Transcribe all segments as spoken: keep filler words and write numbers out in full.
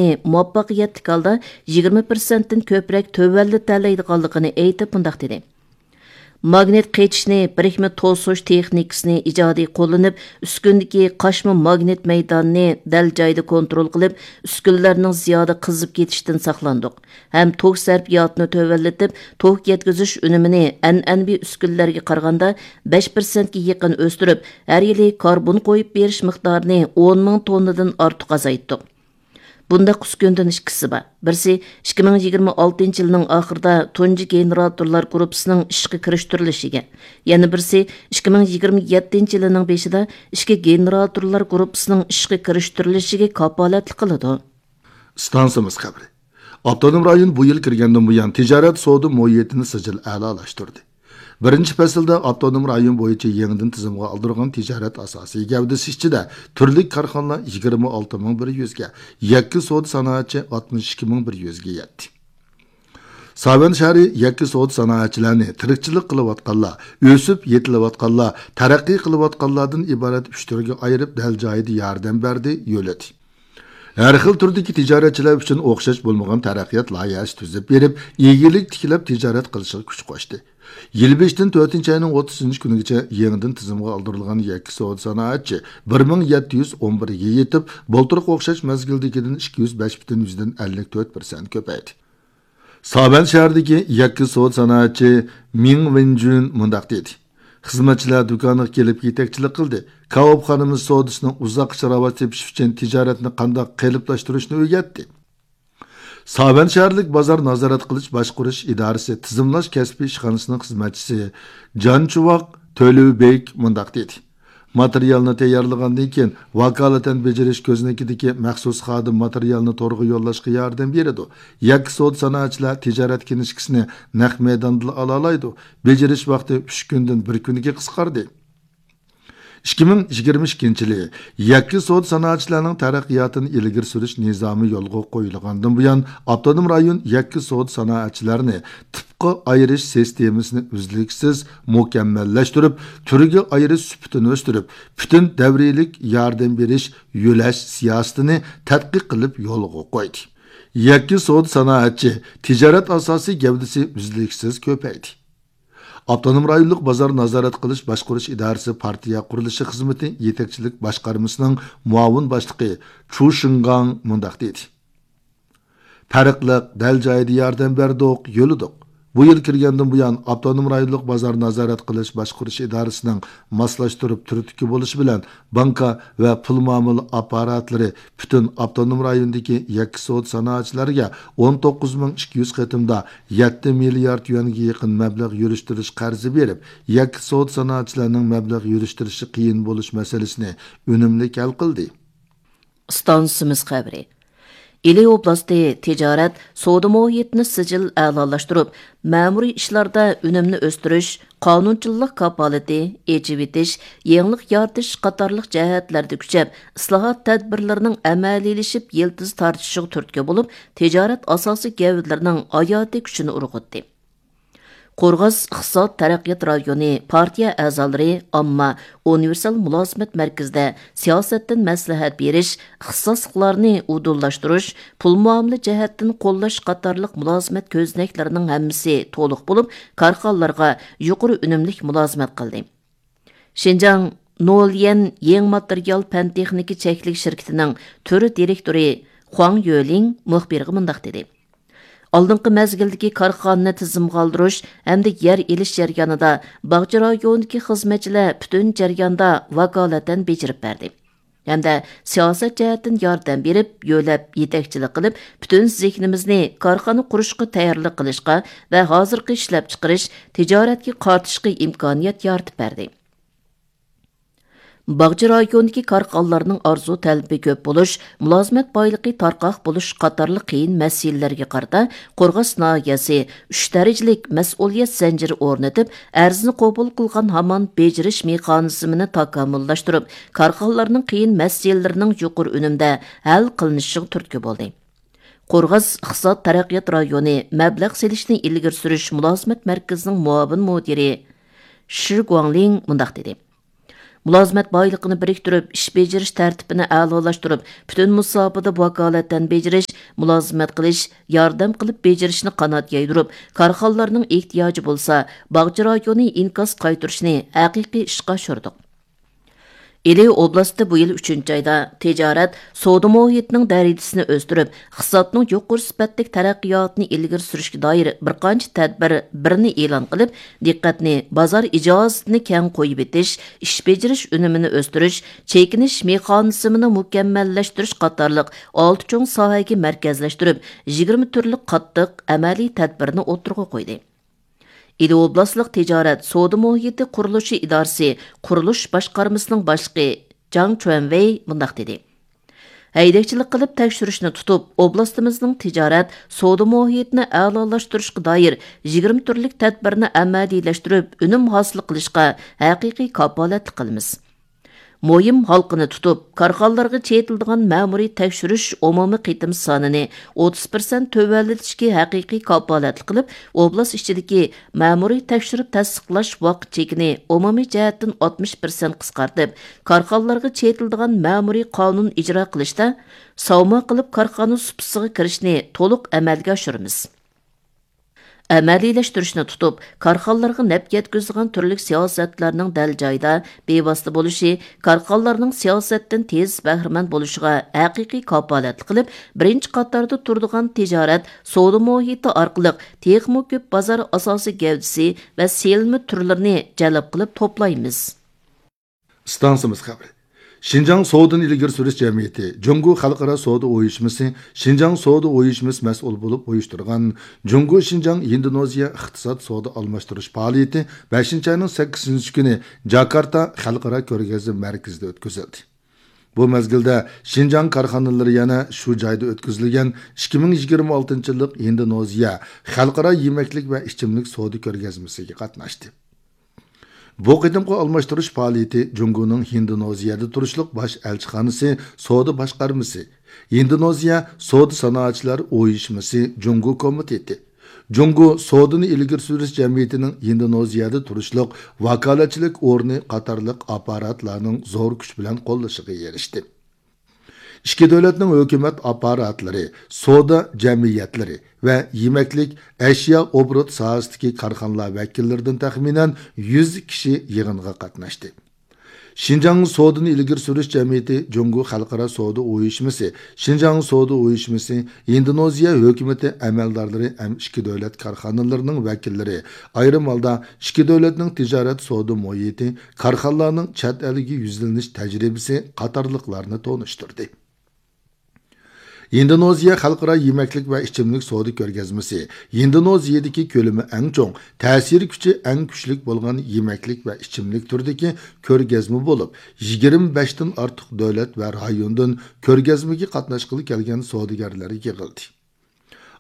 مۇۋەپپەقىيەتلىك ھالدا يىگىرمە پىرسەنتتىن كۆپرەك تۆۋەنلىتەلەيدىغانلىقىنى ئېيتىپ، مۇنداق دېدى: ماگنىت قېچىشنى، بىرىكمە توسۇش تېخنىكىسىنى ئىجادىي قوللىنىپ، ئۈسكۈنىدىكى قاچما ماگنىت مەيدانىنى دەل جايىدا كونترول قىلىپ، ئۈسكۈنىلەرنىڭ زىيادە قىزىپ كېتىشىدىن ساقلاندۇق ھەم توك سەرپىياتىنى تۆۋەنلىتىپ، توك يەتكۈزۈش ئۈنۈمىنى ئەنئەنىۋى ئۈسكۈنىلەرگە قارىغاندا بەش پىرسەنتكە يېقىن ئۆستۈرۈپ، ھەر يىلى كاربون قويۇپ بېرىش مىقدارىنى ئون مىڭ توننىدىن ئارتۇق ئازايتتۇق. بۇنداق ئۈسكۈندىن ئىككىسى بار. بىرسى ئىككى مىڭ يىگىرمە ئالتىنچى يىلنىڭ ئاخىرىدا تۇنجى گېنېراتورلار گۇرۇپپىسىنىڭ ئىشقا كىرىشتۈرۈلۈشىگە، يەنە بىرسى ئىككى مىڭ يىگىرمە يەتتىنچى يىلىنىڭ بېشىدا ئىككى گېنېراتورلار گۇرۇپپىسىنىڭ ئىشقا كىرىشتۈرۈلۈشىگە كاپالەتلىك قىلىدۇ. ئىستانسىمىز خەۋىرى. ئاپتونوم رايون بۇ يىل كىرگەندىن بۇيان تىجارەت سودا مۇھىتىنى سىجىل ئەلالاشتۇردى. بىرىنچى پەسىلدە ئاپتونوم رايون بويىچە يېڭىدىن تىزىمغا ئالدۇرغان تىجارەت ئاساسىي گەۋدىسى ئىچىدە تۈرلۈك كارخانىلار يىگىرمە ئالتە مىڭ بىر يۈزگە، يەككە سودا سانائەتچى ئاتمىش ئىككى مىڭ بىر يۈزگە يەتتى. ساۋەن شەھىرى يەككە سودا سانائەتچىلەرنى تىرىكچىلىك قىلىۋاتقانلار، ئۆسۈپ يېتىلىۋاتقانلار، تەرەققىي قىلىۋاتقانلاردىن ئىبارەت ئۈچ تۈرگە ئايرىپ، دەل جايىدا ياردەم بەردى، يۆلىدى. ھەر خىل تۈردىكى تىجارەتچىلەر ئۈچۈن ئوخشاش بولمىغان تەرەققىيات لايىھەسى تۈزۈپ بېرىپ، ئىگىلىك تىكلەپ تىجارەت قىلىشىغا كۈچ قوشتى. يىل بېشىدىن تۆتىنچى ئاينىڭ ئوتتۇزىنچى كۈنىگىچە يېڭىدىن تىزىمغا ئالدۇرۇلغان يەككە سودا سانائەتچى بىر مىڭ يەتتە يۈز ئون بىرگە يېتىپ، بۇلتۇرقى ئوخشاش مەزگىلدىكىدىن ئىككى يۈز بەش پۈتۈن يۈزدىن ئەللىك تۆت پىرسەنت كۆپەيدى. ساۋەن شەھىرىدىكى يەككە سودا سانائەتچى مىڭ ۋېنجۈن مۇنداق دېدى: خىزمەتچىلەر دۇكانغا كېلىپ يېتەكچىلىك قىلدى. كاۋاپخانىمىز سودىسىنىڭ ئۇزاققىچە راۋاج تېپىشى ئۈچۈن تىجارەتنى قانداق قېلىپلاشتۇرۇشنى ئۆگەتتى. ساۋەن شەھەرلىك بازار نازارەت قىلىش باشقۇرۇش ئىدارىسى تىزىملاش كەسپىي ئىشخانىسىنىڭ خىزمەتچىسى جانچۇۋاق تۆلۈۋبېك مۇنداق دېدى: ماتېرىيالنى تەييارلىغاندىن كېيىن، ۋاكالىتەن بېجىرىش كۆزنىكىدىكى مەخسۇس خادىم ماتېرىيالنى تورغا يوللاشقا ياردەم بېرىدۇ. يەككە سودا سانائەتچىلەر تىجارەت كىنىشكىسىنى نەق مەيداندىلا ئالالايدۇ. بېجىرىش ۋاقتى ئۈچ كۈندىن بىر كۈنگە قىسقاردى. ئىككى مىڭ يىگىرمە ئىككىنچى يىلى يەككە سودا سانائەتچىلەرنىڭ تەرەققىياتىنى ئىلگىرى سۈرۈش نىزامى يولغا قويۇلغاندىن بۇيان، ئاپتونوم رايون يەككە سودا سانائەتچىلەرنى تىپقا ئايرىش سىستېمىسىنى ئۈزلۈكسىز مۇكەممەللەشتۈرۈپ، تۈرگە ئايرىش سۈپىتىنى ئۆستۈرۈپ، پۈتۈن دەۋرىيلىك ياردەم بېرىش، يۆلەش سىياسىتىنى تەتقىق قىلىپ يولغا قويدى. يەككە سودا سانائەتچى تىجارەت ئاساسىي گەۋدىسى ئۈزلۈكسىز كۆپەيدى. ئاپتونوم رايونلۇق بازار نازارەت قىلىش باشقۇرۇش ئىدارىسى پارتىيە قۇرۇلۇشى خىزمىتى يېتەكچىلىك باشقارمىسىنىڭ مۇئاۋىن باشلىقى چۇ شىڭگاڭ مۇنداق دېدى: پەرقلىق، دەل جايىدا ياردەم بەردۇق، يۆلىدۇق. بۇ يىل كىرگەندىن بۇيان، ئاپتونوم رايونلۇق بازار نازارەت قىلىش باشقۇرۇش ئىدارىسىنىڭ ماسلاشتۇرۇپ تۈرتكە بولۇشى بىلەن، بانكا ۋە پۇل مۇئامىلە ئاپپاراتلىرى پۈتۈن ئاپتونوم رايوندىكى يەككە سودا سانائەتچىلەرگە ئون توققۇز مىڭ ئىككى يۈز قېتىمدا يەتتە مىليارد يۈەنگە يېقىن مەبلەغ يۈرۈشتۈرۈش قەرزى بېرىپ، يەككە سودا سانائەتچىلەرنىڭ مەبلەغ يۈرۈشتۈرۈشى قىيىن بولۇش مەسىلىسىنى ئۈنۈملۈك ھەل قىلدى. ئىستانسىمىز خەۋىرى. ئىلى ئوبلاستى تىجارەت، سودا مۇھىتىنى سىجىل ئەلالاشتۇرۇپ، مەمۇرىي ئىشلاردا ئۈنۈمنى ئۆستۈرۈش، قانۇنچىللىق كاپالىتى، ئېچىۋېتىش، يېڭىلىق يارىتىش قاتارلىق جەھەتلەردە كۈچەپ، ئىسلاھات تەدبىرلىرىنىڭ ئەمەلىيلىشىپ يىلتىز تارتىشىغا تۈرتكە بولۇپ، تىجارەت ئاساسىي گەۋدىلىرىنىڭ ھاياتىي كۈچىنى ئۇرغۇتتى. قورغاس ئىقتىساد تەرەققىيات رايونى پارتىيە ئەزالىرى ئامما ئۇنىۋېرسال مۇلازىمەت مەركىزىدە سىياسەتتىن مەسلىھەت بېرىش، ئىختىساسلىقلارنى ئۇدۇللاشتۇرۇش، پۇل مۇئامىلە جەھەتتىن قوللاش قاتارلىق مۇلازىمەت كۆزنەكلىرىنىڭ ھەممىسى تولۇق بولۇپ، كارخانىلارغا يۇقىرى ئۈنۈملۈك مۇلازىمەت قىلدى. شىنجاڭ نوليەن يېڭى ماتېرىيال پەن تېخنىكا چەكلىك شىركىتىنىڭ تۈر دىرېكتورى خۇاڭ يۆلىڭ مۇخبىرغا مۇنداق دېدى: ئالدىنقى مەزگىلدىكى كارخانىنى تىزىمغا ئالدۇرۇش ھەمدە يەر ئېلىش جەريانىدا باغچە رايونىدىكى خىزمەتچىلەر پۈتۈن جەرياندا ۋاكالىتەن بېجىرىپ بەردى ھەمدە سىياسەت جەھەتتىن ياردەم بېرىپ، يۆلەپ، يېتەكچىلىك قىلىپ، پۈتۈن زېھنىمىزنى كارخانا قۇرۇشقا تەييارلىق قىلىشقا ۋە ھازىرقى ئىشلەپچىقىرىش، تىجارەتكە قارىتىشقا ئىمكانىيەت يارىتىپ بەردى. باغچە رايونىدىكى كارخانىلارنىڭ ئارزۇ تەلىپى كۆپ بولۇش، مۇلازىمەت بايلىقى تارقاق بولۇش قاتارلىق قىيىن مەسىلىلەرگە قارىتا، قورغاس ناھىيەسى ئۈچ دەرىجىلىك مەسئۇلىيەت زەنجىرى ئورنىتىپ، ئەرزنى قوبۇل قىلغان ھامان بېجىرىش مېخانىزمىنى تاكامۇللاشتۇرۇپ، كارخانىلارنىڭ قىيىن مەسىلىلىرىنىڭ يۇقىرى ئۈنۈمدە ھەل قىلىنىشىغا تۈرتكە بولدى. قورغاس ئىقتىساد تەرەققىيات رايونى مەبلەغ سېلىشنى ئىلگىرى سۈرۈش مۇلازىمەت مەركىزىنىڭ مۇئاۋىن مۇدىرى شى گۇاڭلىڭ مۇنداق دېدى: مۇلازىمەت بايلىقىنى بىرىكتۈرۈپ، ئىش بېجىرىش تەرتىپىنى ئەلالاشتۇرۇپ، پۈتۈن مۇساپىدە ۋاكالەتەن بېجىرىش، مۇلازىمەت قىلىش، ياردەم قىلىپ بېجىرىشنى قانات يايدۇرۇپ، كارخانىلارنىڭ ئېھتىياجى بولسا، باغچە رايونى ئىنكاس قايتۇرۇشنى ھەقىقىي ئىشقا ئاشۇردۇق. ئىلى ئوبلاستى بۇ يىل ئۈچىنچى ئايدا تىجارەت، سودا مۇھىتىنىڭ دەرىجىسىنى ئۆستۈرۈپ، ئىقتىسادنىڭ يۇقىرى سۈپەتلىك تەرەققىياتىنى ئىلگىرى سۈرۈشكە دائىر بىر قانچە تەدبىر بىرنى ئېلان قىلىپ، دىققەتنى بازار ئىجازىتىنى كەڭ قويۇۋېتىش، ئىش بېجىرىش ئۈنۈمىنى ئۆستۈرۈش، چېكىنىش مېخانىزمىنى مۇكەممەللەشتۈرۈش قاتارلىق ئالتە چوڭ ساھەگە مەركەزلەشتۈرۈپ، يىگىرمە تۈرلۈك قاتتىق ئەمەلىي تەدبىرنى ئوتتۇرىغا قويدى. ئىلى ئوبلاستلىق تىجارەت، سودا مۇھىتى قۇرۇلۇشى ئىدارىسى قۇرۇلۇش باشقارمىسىنىڭ باشلىقى جاڭ چۈەنۋېي مۇنداق دېدى: ھەيدەكچىلىك قىلىپ تەكشۈرۈشنى تۇتۇپ، ئوبلاستىمىزنىڭ تىجارەت، سودا مۇھىتىنى ئەلالاشتۇرۇشقا دائىر يىگىرمە تۈرلۈك تەدبىرنى ئەمەلىيلەشتۈرۈپ، ئۈنۈم ھاسىل قىلىشقا ھەقىقىي كاپالەتلىك قىلىمىز. مۇھىم ھالقىنى تۇتۇپ، كارخانىلارغا چېتىلىدىغان مەمۇرىي تەكشۈرۈش ئومۇمىي قېتىم سانىنى ئوتتۇز پىرسەنت تۆۋەنلىتىشكە ھەقىقىي كاپالەتلىك قىلىپ، ئوبلاست ئىچىدىكى مەمۇرىي تەكشۈرۈپ تەستىقلاش ۋاقىت چېكىنى ئومۇمىي جەھەتتىن ئاتمىش پىرسەنت قىسقارتىپ، كارخانىلارغا چېتىلىدىغان مەمۇرىي قانۇن ئىجرا قىلىشتا ساۋما قىلىپ كارخانا سۇپىسىغا كىرىشنى تولۇق ئەمەلگە ئاشۇرىمىز. ئەمەلىيلەشتۈرۈشنى تۇتۇپ، كارخانىلارغا نەپ يەتكۈزىدىغان تۈرلۈك سىياسەتلەرنىڭ دەل جايىدا، بىۋاسىتە بولۇشى كارخانىلارنىڭ سىياسەتتىن تېز بەھرىمەن بولۇشىغا ھەقىقىي كاپالەتلىك قىلىپ، بىرىنچى قاتاردا تۇرىدىغان تىجارەت، سودا مۇھىتى ئارقىلىق تېخىمۇ كۆپ بازار ئاساسىي گەۋدىسى ۋە سېلىنما تۈرلىرىنى جەلپ قىلىپ توپلايمىز. ئىستانسىمىز خەۋىرى. شىنجاڭ سودىنى ئىلگىرى سۈرۈش جەمئىيىتى، جۇڭگو خەلقئارا سودا ئۇيۇشمىسى، شىنجاڭ سودا ئۇيۇشمىسى مەسئۇل بولۇپ ئۇيۇشتۇرغان جۇڭگو شىنجاڭ ھىندونېزىيە ئىقتىساد سودا ئالماشتۇرۇش پائالىيىتى بەشىنچى ئاينىڭ سەككىزىنچى كۈنى جاكارتا خەلقئارا كۆرگەزمە مەركىزىدە ئۆتكۈزۈلدى. بۇ مەزگىلدە شىنجاڭ كارخانىلىرى يەنە شۇ جايدا ئۆتكۈزۈلگەن ئىككى مىڭ يىگىرمە ئالتىنچى يىللىق ھىندونېزىيە خەلقئارا يېمەكلىك ۋە ئىچىملىك سودا كۆرگەزمىسىگە قاتناشتى. بۇ قېتىمقى ئالماشتۇرۇش پائالىيىتى جۇڭگونىڭ ھىندونېزىيەدە تۇرۇشلۇق باش ئەلچىخانىسى، سودا باشقارمىسى، ھىندونېزىيە سودا سانائەتچىلەر ئۇيۇشمىسى جۇڭگو كومىتېتى، جۇڭگو سودىنى ئىلگىرى سۈرۈش جەمئىيىتىنىڭ ھىندونېزىيەدە تۇرۇشلۇق ۋاكالەتچىلىك ئورنى قاتارلىق ئاپپاراتلارنىڭ زور كۈچ بىلەن قوللىشىغا ئېرىشتى. ئىككى دۆلەتنىڭ ھۆكۈمەت ئاپپاراتلىرى سودا جەمئىيەتلىرى ۋە يېمەكلىك، ئەشيا ئوبوروت ساھەسىدىكى كارخانىلار ۋەكىللىرىدىن تەخمىنەن يۈز كىشى يىغىنغا قاتناشتى. شىنجاڭ سودىنى ئىلگىرى سۈرۈش جەمئىيىتى، جۇڭگو خەلقئارا سودا ئۇيۇشمىسى، شىنجاڭ سودا ئۇيۇشمىسى، ئىندونېزىيە ھۆكۈمىتى ئەمەلدارلىرى ھەم ئىككى دۆلەت كارخانىلىرىنىڭ ۋەكىللىرى، ئايرىم ھالدا ئىككى دۆلەتنىڭ تىجارەت سودا مۇھىتى، كارخانىلارنىڭ چەت ئەلگە يۈزلىنىش تەجرىبىسى قاتارلىقلارنى تونۇشتۇردى. ھىندونېزىيە خەلقئارا يېمەكلىك ۋە ئىچىملىك سودا كۆرگەزمىسى ھىندونېزىيەدىكى كۆلىمى ئەڭ چوڭ، تەسىر كۈچى ئەڭ كۈچلۈك بولغان يېمەكلىك ۋە ئىچىملىك تۈرىدىكى كۆرگەزمە بولۇپ، يىگىرمە بەشتىن ئارتۇق دۆلەت ۋە رايوندىن كۆرگەزمىگە قاتناشقىلى كەلگەن سودىگەرلەر يىغىلدى.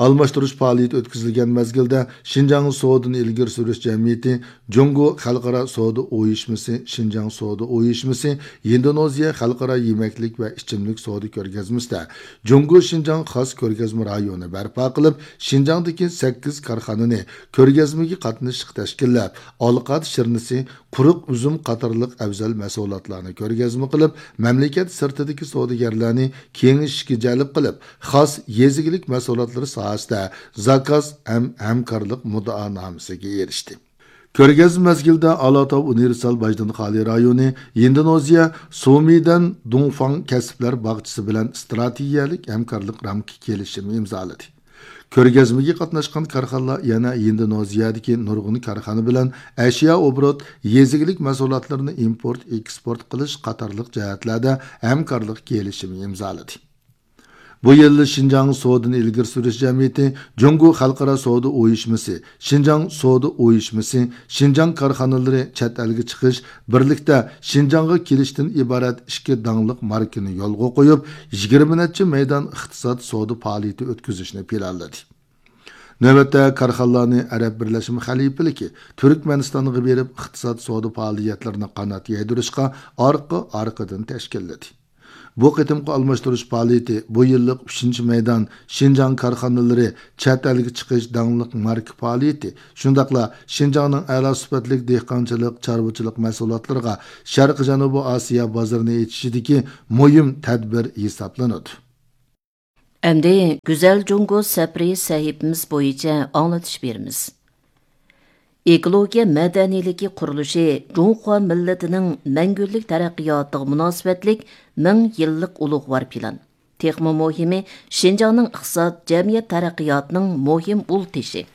ئالماشتۇرۇش پائالىيىتى ئۆتكۈزۈلگەن مەزگىلدە، شىنجاڭ سودىنى ئىلگىرى سۈرۈش جەمئىيىتى، جۇڭگو خەلقئارا سودا ئۇيۇشمىسى، شىنجاڭ سودا ئۇيۇشمىسى، ھىندونېزىيە خەلقئارا يېمەكلىك ۋە ئىچىملىك سودا كۆرگەزمىسىدە جۇڭگو شىنجاڭ خاس كۆرگەزمە رايونى بەرپا قىلىپ، شىنجاڭدىكى سەككىز كارخانىنى كۆرگەزمىگە قاتنىشىشقا تەشكىللەپ، ئالقات شىرنىسى، قۇرۇق ئۈزۈم قاتارلىق ئەۋزەل مەھسۇلاتلارنى كۆرگەزمە قىلىپ، مەملىكەت سىرتىدىكى سودىگەرلەرنى كېڭىشىشكە جەلپ قىلىپ، خاس يېزا ئىگىلىك مەھسۇلاتلىرى ساھەسىدە زاكاز ھەم ھەمكارلىق مۇددىئانامىسىگە ئېرىشتى. كۆرگەزمە مەزگىلىدە ئالاتاۋ ئۇنىۋېرسال باجدىن خالىي رايونى ھىندونېزىيە سۇمىدەن دۇڭفاڭ كەسىپلەر باغچىسى بىلەن ئىستراتېگىيەلىك ھەمكارلىق رامكا كېلىشىمى ئىمزالىدى. كۆرگەزمىگە قاتناشقان كارخانىلار يەنە ھىندونېزىيەدىكى نۇرغۇن كارخانا بىلەن ئەشيا ئوبوروت، يېزا ئىگىلىك مەھسۇلاتلىرىنى ئىمپورت، ئېكسپورت قىلىش قاتارلىق جەھەتلەردە ھەمكارلىق كېلىشىمى ئىمزالىدى. بۇ يىل شىنجاڭ سودىنى ئىلگىرى سۈرۈش جەمئىيىتى، جۇڭگو خەلقئارا سودا ئۇيۇشمىسى، شىنجاڭ سودا ئۇيۇشمىسى، شىنجاڭ كارخانىلىرى چەت ئەلگە چىقىش، بىرلىكتە شىنجاڭغا كېلىشتىن ئىبارەت ئىككى داڭلىق ماركىنى يولغا قويۇپ، يىگىرمە نەچچە مەيدان ئىقتىساد سودا پائالىيىتى ئۆتكۈزۈشنى پىلانلىدى. نۆۋەتتە كارخانىلارنى ئەرەب بىرلەشمە خەلىپىلىكى تۈركمەنىستانغا بېرىپ، ئىقتىساد سودا پائالىيەتلىرىنى قانات يايدۇرۇشقا ئارقا-ئارقىدىن تەشكىللىدى. بۇ قېتىمقى ئالماشتۇرۇش پائالىيىتى بۇ يىللىق ئۈچىنچى مەيدان شىنجاڭ كارخانىلىرى چەت ئەلگە چىقىش داڭلىق ماركا پائالىيىتى، شۇنداقلا شىنجاڭنىڭ ئەلا سۈپەتلىك دېھقانچىلىق، چارۋىچىلىق مەھسۇلاتلىرىغا شەرقىي جەنۇبىي ئاسىيا بازىرىنى ئېچىشىدىكى مۇھىم تەدبىر ھېسابلىنىدۇ. ئەمدى گۈزەل جۇڭگو سەپىرى سەھىپىمىز بويىچە ئاڭلىتىش بېرىمىز. ئېكولوگىيە مەدەنىيلىكى قۇرۇلۇشى جۇڭخۇا مىللىتىنىڭ مەڭگۈلۈك تەرەققىياتىغا مۇناسىۋەتلىك مىڭ يىللىق ئۇلۇغۋار پىلان. تېخىمۇ مۇھىمى، شىنجاڭنىڭ ئىقتىساد، جەمئىيەت تەرەققىياتىنىڭ مۇھىم ئۇل تېشى.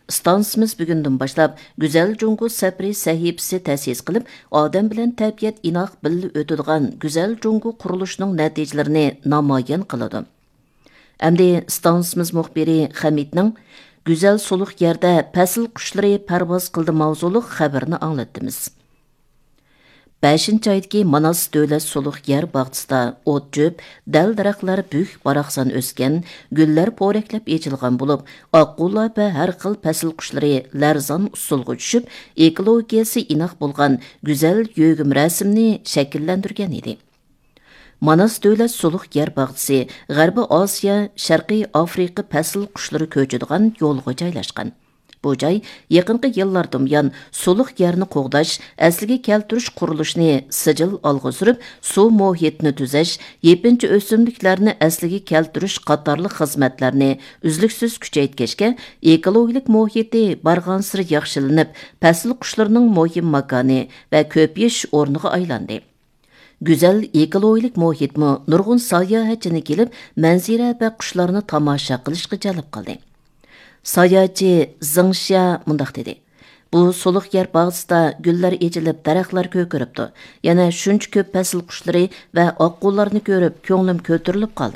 ئىستانسىمىز بۈگۈندىن باشلاپ گۈزەل جۇڭگو سەپىرى سەھىپىسى تەسىس قىلىپ، ئادەم بىلەن تەبىئەت ئىناق بىللە ئۆتىدىغان گۈزەل جۇڭگو قۇرۇلۇشىنىڭ نەتىجىلىرىنى نامايان قىلىدۇ. ئەمدى ئىستانسىمىز مۇخبىرى خەمىتنىڭ «گۈزەل سۇلۇق يەردە پەسىل قۇشلىرى پەرۋاز قىلدى» ماۋزۇلۇق خەۋىرىنى ئاڭلىتىمىز. بەشىنچى ئايدىكى ماناس دۆلەت سۇلۇق يەر باغچىسىدا ئوت-چۆپ، دەل-دەرەخلەر بۈك-باراقسان ئۆسكەن، گۈللەر پورەكلەپ ئېچىلغان بولۇپ، ئاققۇلار ۋە ھەر خىل پەسىل قۇشلىرى لەرزان ئۇسسۇلغا چۈشۈپ، ئېكولوگىيەسى ئىناق بولغان گۈزەل يۆگىمە رەسىمنى شەكىللەندۈرگەن ئىدى. ماناس دۆلەت سۇلۇق يەر باغچىسى غەربىي ئاسىيا، شەرقىي ئافرىقا پەسىل قۇشلىرى كۆچىدىغان يولغا جايلاشقان. بۇ جاي يېقىنقى يىللاردىن بۇيان سۇلۇق يەرنى قوغداش، ئەسلىگە كەلتۈرۈش قۇرۇلۇشىنى سىجىل ئالغا سۈرۈپ، سۇ مۇھىتىنى تۈزەش، يېپىنچا ئۆسۈملۈكلەرنى ئەسلىگە كەلتۈرۈش قاتارلىق خىزمەتلەرنى ئۈزلۈكسىز كۈچەيتكەچكە، ئېكولوگىيەلىك مۇھىتى بارغانسېرى ياخشىلىنىپ، پەسىل قۇشلىرىنىڭ مۇھىم ماكانى ۋە كۆپىيىش ئورنىغا ئايلاندى. گۈزەل ئېكولوگىيەلىك مۇھىتمۇ نۇرغۇن ساياھەتچىنى كېلىپ، مەنزىرە ۋە قۇشلارنى تاماشا قىلىشقا جەلپ قىلدى. ساياھەتچى زېڭ شيا مۇنداق دېدى: «بۇ سۇلۇق يەر باغچىسىدا گۈللەر ئېچىلىپ، دەرەخلەر كۆكىرىپتۇ. يەنە شۇنچە كۆپ پەسىل قۇشلىرى ۋە ئاققۇلارنى كۆرۈپ، كۆڭلۈم كۆتۈرۈلۈپ قالدى.